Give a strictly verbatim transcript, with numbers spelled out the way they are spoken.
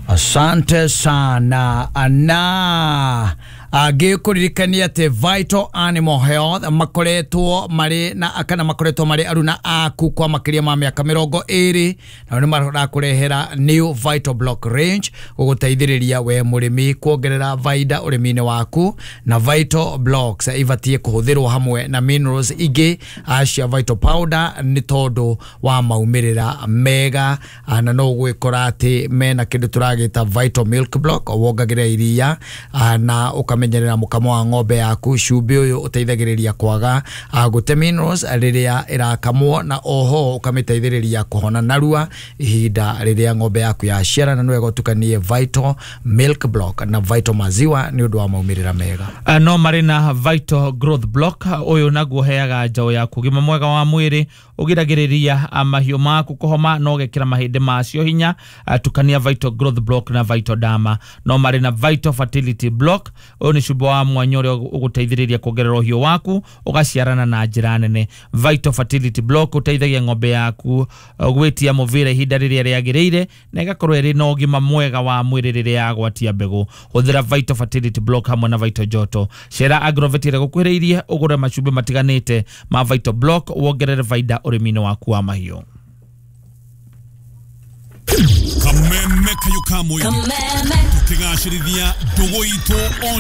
Asante sana. Na ngĩkũririkania atĩ Vital Animal Health makoretwo marĩ na kana makoretwo marĩ aruna aku kwa makĩria ma mĩaka mĩrongo ĩrĩ, nao nĩ marakũrehera new Vital Block range gũgũteithĩrĩria we mũrĩmi kuongerera baida ũrĩmi-inĩ waku. Na Vital Blocks ibatiĩ kũhũthĩrwo hamwe na minerals ingĩ cia Vital Powder nĩ tondũ wa maumĩrĩra mega. Na no ũgwĩkora atĩ mena kĩndũ tũragĩta Vital Milk Block, wongagĩrĩra iria na ũkamenyerera mũkamo wa ng'ombe yaku. Cumbĩ ũyũ ũteithagĩrĩria kwaga gũte minerals rĩrĩa ĩrakamwo, na oho ũkamĩteithĩrĩria kũhona narua ihinda rĩrĩa ng'ombe yaku yaciara. Na nĩ wega ũtukanie Vital Milk Block na Vital Maziwa nĩ ũndũ wa maumĩrĩra mega. No marĩ na Vital Growth Block, ũyũ naguo heaga njaũ yaku ũgima mwega wa mwĩrĩ, ũgiragĩrĩria mahiũ maku kũhoma na ũgekĩra mahĩndĩ macio hinya. Tukania Vital Growth Block na Vital Dama. No marĩ na Vital Fertility Block, ũyũ nĩ cumbĩ wa mwanya ũrĩa ũgũteithĩrĩria kuongerera ũhiũ waku ũgaciarana na njĩra nene. Vital Fertility Block ũteithagia ng'ombe yaku gwĩtia mũbira ihinda rĩrĩa rĩagĩrĩire na ĩgakorwo ĩrĩ na ũgima mwega wa mwĩrĩ rĩrĩa yagwatia mbegũ. Hũthĩra Vital Fertility Block hamwe na Vital Joto. Cera Agrovet ĩrĩa gũkuhĩrĩirie ũgũre macumbĩ matiganĩte ma Vital Block wongerere baida ũrĩmi-inĩ waku wa mahiũ. Kameme kayo kamwe tukigacĩrithia ndũgũ itũ.